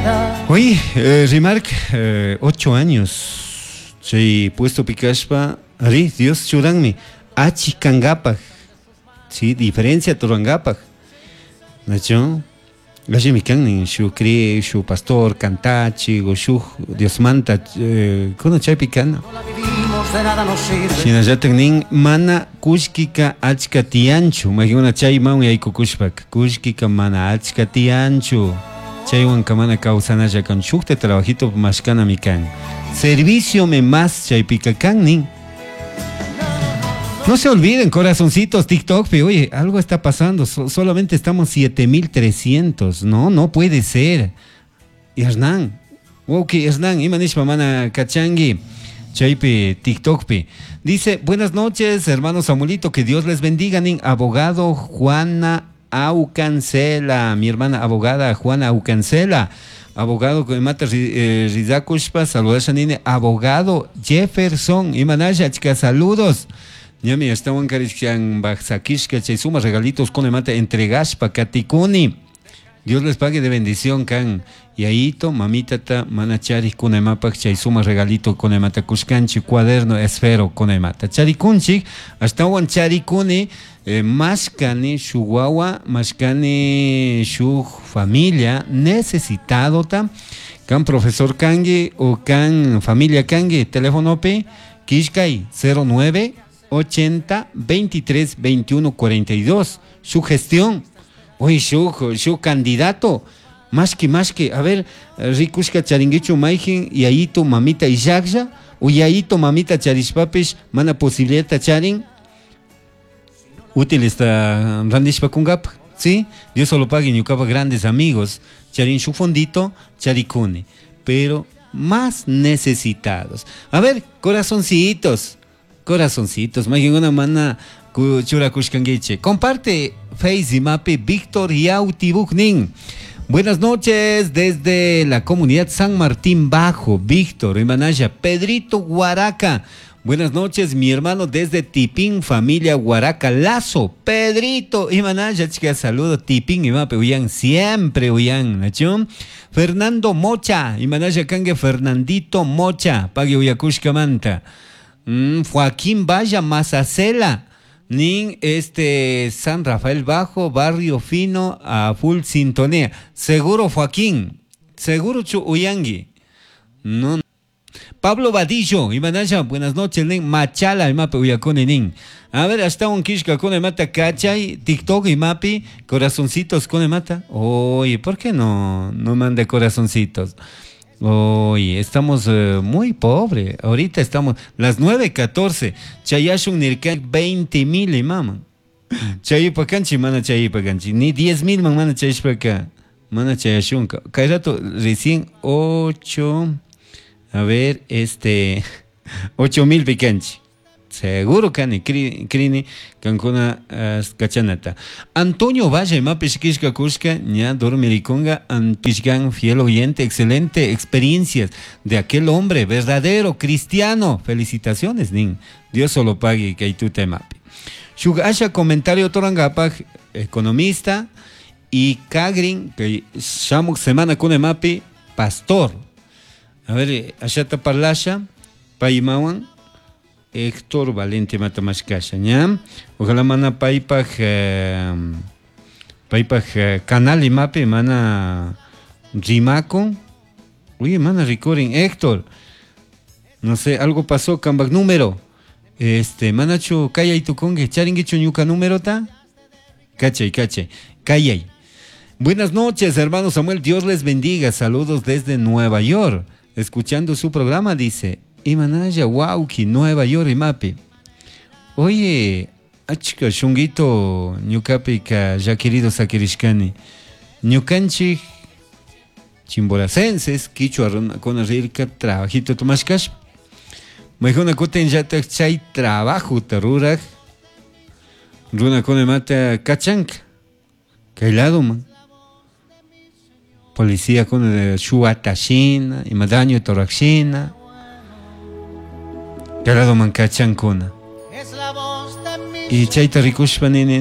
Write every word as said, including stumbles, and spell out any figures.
queda. Oye, eh, Rimark, eh, ocho años chay puesto pikashpa, ari, Dios churanmi, achikangapaj, sí, diferencia turangapaj. Nacho, allimi kan nin shu cri, shu pastor, cantachi, o shu Dios manta, eh, kuna chaypi kana. No la vivimos, de nada nos sirve. Shinallatak nin mana kullkika achka tiyanchu, mayqinuna chayman yaykukushpaka, kullkika mana achka tiyanchu, chaywanka mana kawsanalla kan, shukta trabajito mashkanami kan. Servicio me más chaypika kan nin. No se olviden, corazoncitos, TikTok, pe, oye, algo está pasando, so- solamente estamos siete mil trescientos, no, no puede ser. Hernán, ok, Hernán, ima nishpa mana kachangi, chaypi, TikTok pi. Dice, buenas noches, hermano Samuelito, que Dios les bendiga, nin, abogado Juana Aucancela, mi hermana abogada Juana Aucancela, abogado que mata eh, Rizakushpa, saludos nini, abogado Jefferson, imanasha, chica, saludos. Ñami, estaban karishkan bajsakishka, chay suma regalitos con mata entregashpa, katikuni. Dios les pague de bendición, kan. Yaito, mamita ta, manachari kunemapak, chay suma regalito kunemata kushkanchi, cuaderno esfero kunemata. Charikunchik, hasta wan charikuni, eh, mashkani shuwawa, mashkani shu familia necesitado ta, kan profesor kangi o kan familia kangi, teléfono pe, kishkay, cero nueve, ochenta, veintitrés, veintiuno, cuarenta y dos. Su gestión. Oye, su, su candidato, más que, más que, a ver, rikushka charinguichu maijin, y ahí tu mamita y yaksha, o y ahí tu mamita charishpapish, mana posibilidad charin, útil está randishpa kungap, ¿sí? Dios solo pague, ñucapa grandes amigos, charin su fondito, charikuni, pero más necesitados. A ver, corazoncitos, corazoncitos, maijin una mana ku-, chura kushkanguiche. Comparte Face y Mapi Víctor Yautibuknin. Buenas noches desde la comunidad San Martín Bajo, Víctor Imanaya, Pedrito Guaraca. Buenas noches, mi hermano desde Tipín, familia Guaraca Lazo. Pedrito Imanaya, chica, saludo. Tipín y Mapi, uyan, siempre uyan, ¿nachón? Fernando Mocha, Imanaya Kangue, Fernandito Mocha, pague uyakushka manta. Mm, Joaquín Valla Mazacela. Nin, este, San Rafael Bajo, Barrio Fino, a full sintonía. Seguro, Joaquín, seguro chu uyangui. No. Pablo Vadillo, Imanaya, buenas noches, nin, Machala, imapi, uyakuni, nin. A ver, hasta un kishka con mata, cachay, TikTok, imapi, corazoncitos con mata. Oye, ¿por qué no, no manda corazoncitos? Oye, estamos, eh, muy pobre. Ahorita estamos las nueve catorce. Chayashun nirkan veinte mil y mama. Chayipakanchi, mana chayipakanchi. Ni diez mil man, mana chayishpaka. Mana chayashunka. Kay rato recién ocho. A ver, este, ocho mil picanchi. Seguro kani, kri-, krini, kankuna, eh, kachanata. Antonio Valle, mapishkishka kushka, ña dormirikunga, antishgan, fiel oyente, excelente experiencias de aquel hombre verdadero, cristiano. Felicitaciones, nin. Dios solo pague que tú te mapi. Shugasha comentario torangapaj, economista, y Kagrin, que shamuk semana kune mapi, pastor. A ver, ashata parlasha, paimawan, Héctor Valente Matamashkasha, ¿ya? Ojalá mana paipaj, eh, paipaj, eh, canal y mape, mana rimaco. Oye, mana recording, Héctor. No sé, algo pasó, cambak número. Este, manachu, kayay tukonge, charinguichu ñuka número ta? Cachay, cachay, kayay. Buenas noches, hermano Samuel, Dios les bendiga. Saludos desde Nueva York. Escuchando su programa, dice. Imanaya, wauki, Nueva York, imapi. Oye, achka, shunguito, ñukapi ka ya querido sakirishkani. Ñukanchik, chimboracenses, quichua runa, con rirka, trabajito tomashkash. Maijuna kuten yatak chay trabajo tarurak. Runa con mata kachanka. Kailado man. Policía con el shuatashina, imadaño torakshina. Kailado man kachankuna. Es la voz de mi Y chayta rikushpa nini.